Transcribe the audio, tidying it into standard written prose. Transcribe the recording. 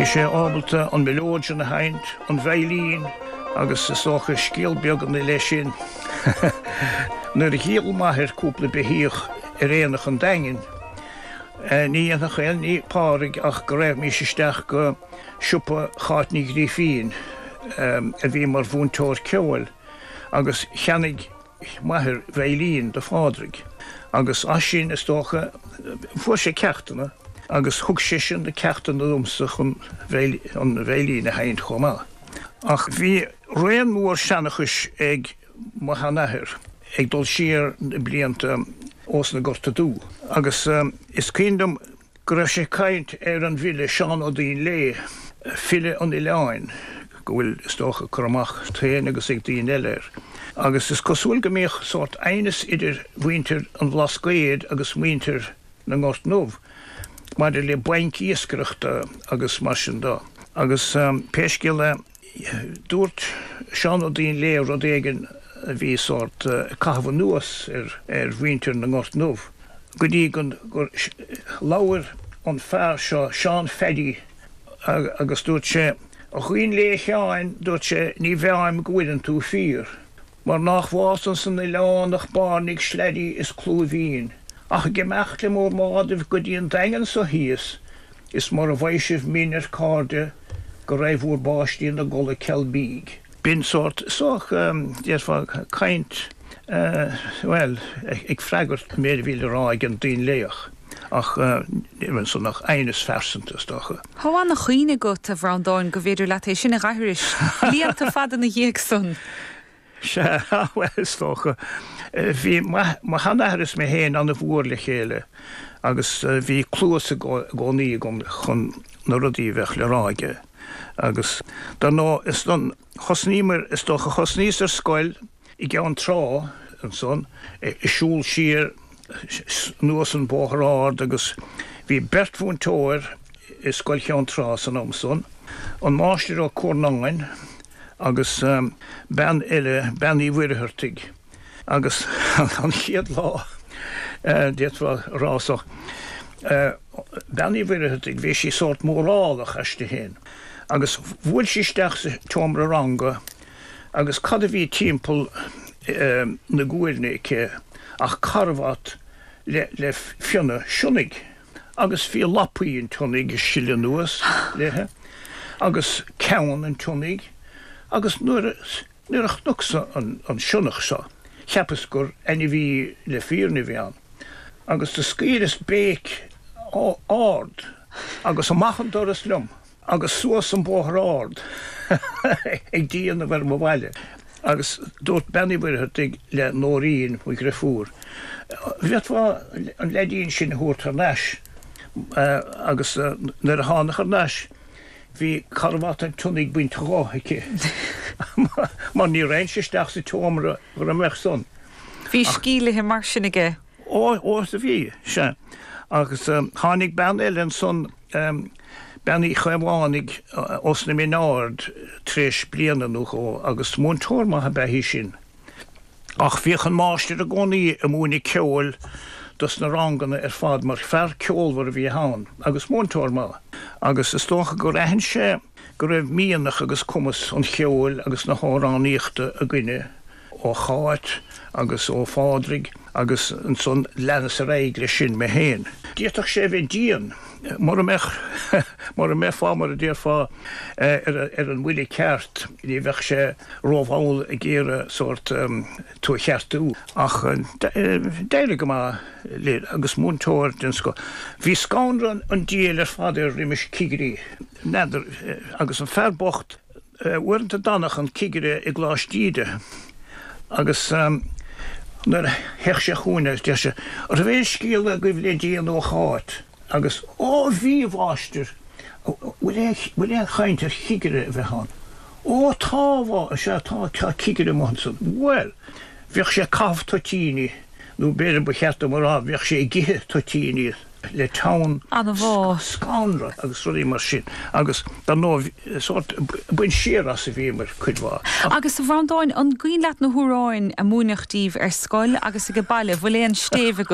Bhí sé ábalta an mileoidean a sheinnt, an veidhlín agus is dócha scéal beag ina leith sin. Nuair a dhíol m'athair cúpla beithíoch ar aonach an Daingin, ní dhéanfadh aon ní Pádraig ach go raghaimís isteach go siopa Cháit Ní Ghrífín, a bhí mar mhúinteoir ceoil, agus cheannaigh m'athair veidhlín do Phádraig agus as sin, is dócha, fuair sé ceachtanna agus thug seisean na ceachtanna domsa chun an veidhlín a sheinnt chomh maith. Ach bhí raon mór seanchais ag mo sheanathair ag dul siar na blianta ós na Gorta Dubha agus is cuimhin liom go raibh sé ag caint ar an bhfile Seán Ó Duinnshléibhe, file an oileáin, go bhfuil, is dócha, cur amach agat féin agus ag daoine eile air. Agus is cosúil go mbíodh sórt aighneas idir mhuintir an Bhlascaoid agus muintir na nGort nDubh maidir le bainc iascaireachta agus mar sin de. Agus pé scéal é, Dúirt Seán Ó Duinnshléibhe rud éigin a bhí sórt ag caitheamh anuas ar mhuintir na nGort nDubh, go dtí gur labhair an fear seo, Seán Phaddy, agus dúirt sé, 'A Dhuinnshléibhe Sheáin, dúirt sé, 'ní mheáim go bhfuileann tú fíor, mar nách bhfásann san oileán ach bairnigh, slairí is clúimhín. Ach ag imeacht le bhur mbádaibh go dtí an Daingean so thíos, Is mura bhfaighidh sibh min ar cairde go raghaidh bhúr bpáistí ina gcodladh ceal bídh. B'in sórt, sórt, déarfá, caint, bhuel, ag freagairt an méid a bhí le rá ag an Duinnshléibheach, ach ní raibh ansan ach aighneas phearsanta, is dócha. Tá an-chuimhne agat, a Bhreandáin, go mb'fhéidir leat é sin a dh'aithris, blianta fada ina dhiaidh san. Sea, bhuel, is dócha. Bhí mo sheanathair is mé féin an-mhór le chéile agus bhí cluas i gcónaí agam chun na rudaí a bheadh le rá aige. Agus dar ndóigh, is don, thosnaíomar, is dócha, thosnaíos ar scoil i gCeann Trá ansan, ag siúl siar anuas an Bóthar Ard agus bhí beirt mhúinteoir i Scoil Cheann Trá san am san, an Máistir Ó Cuarnáin agus bean eile, Bean Uí Mhuircheartaigh. Agus an chéad lá, d'fhéadfá a rá so, Bean Uí Mhuircheartaigh, bhí sí sórt mórálach aisti féin agus bhuail sí isteach sa tseomra ranga agus cad a bhí timpeall na guairne aici ach carbhat le fionnadh sionnaigh. Agus bhí lapaí an tsionnaigh ag sileadh anuas léithe, agus ceann an tsionnaigh, agus nuair nuair a chonacsa an sionnach seo, cheapas gur ainmhí le fírinne a bhí ann, agus do scaoileas béic ard agus amach an doras liom. Agus suas an bóthar ard ag déanamh ar mo bhaile. Agus dúirt Bean Uí Mhuircheartaigh le Nóirín, mo dhriofúr, bhféadfá an leaidín sin a thabhairt thar n-ais? Agus nuair a thánag thar n-ais bhí carbhat an tsionnaigh bainte dho aici mar ní raghainnse isteach sa tseomra mura mbeadh san. Bhí scil léithe mar sin aige. Ó, ó, is a bhí, sea. Agus tháinig bean eile ansan, Bean Uí Chaomhánaigh ós na Mine Ard tar éis bliana nó dhó agus múinteoir maith ab ea í sin. Ach bhíodh an máistir i gcónaí ag múineadh ceoil dos na ranganna ar fad mar fear ceolmhar a bhí ann agus múinteoir maith. Agus is dócha gur aithin sé go raibh mianach agus cumas an cheoil agus na hamhránaíochta againne. ó Cháit agus ó Phádraig agus ansan leanas ar aghaidh leis sin mé féin. D'fhéadfadh sé a bheith dian mura mbeadh, mura mbeifeá, mar a déarfá, ar an mbuille ceart, ní bheadh sé rómhall ag iarraidh sórt tú a cheartú. Ach d'éirigh go maith linn agus múinteoir den scoth. Bhí scanradh an diabhail ar fad air roimis cigirí, n'fheadar, agus an fear bocht, Uaireanta d'fhanadh an cigire i gColáiste Íde agus nuair a théadh sé chugainn deir sé, An raibh aon scéal agaibh le déanamh ó Cháit? Agus, Ó bhí, a mháistir, bhfuil aon chaint ar chigire a bheith ann? Ó tá, a sea, tá, tá cigire amuigh ansan. Bhuel, bhíodh sé ag caitheamh toitíní, nó b'fhéidir ba cheart dom a rá, bhíodh sé ag ithe toitíní. le teann scanradh agus rudaí mar sin agus dar ndóigh sórt baint siar as a bhíomar cuid mhaith. Agus a Bhreandáin, an gcuimhin leat na hamhráin a múineadh díbh ar scoil agus age baile, bhfuil aon stéibh agat?